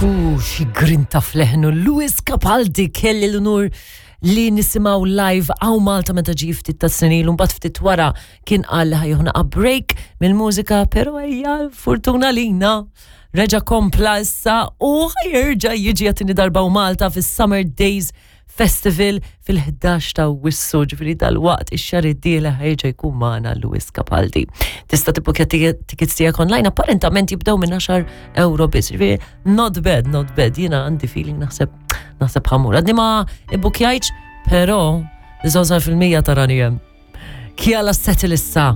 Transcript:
U xi grinta fleħnu Louis Capaldi kelli l-unur li nisimgħu live hawn Malta meta ġie ftit ta' snin ilu mbagħad ftit wara kien qal li ħa jieħu naqa' break mill-mużika però ejja fortuna lina reġa' kompla issa u ħa jerġa' jiġi għat-tieni darba hawn Malta fis-Summer Days Festival fil-11 ta' Awwissu, ġifieri dalwaqt ix-xahar id-dieħel ħa jerġa' jkun magħna Louis Capaldi. Tista' tibbukja tickets tiegħek online apparentament jibdew minn 10 euro biss. Ġifieri not bad, not bad. Jiena għandi feeling naħseb naħseb ħa mmur. Għadni ma ibbukjajtx, però 99% tarani hemm. Kjala Settle issa.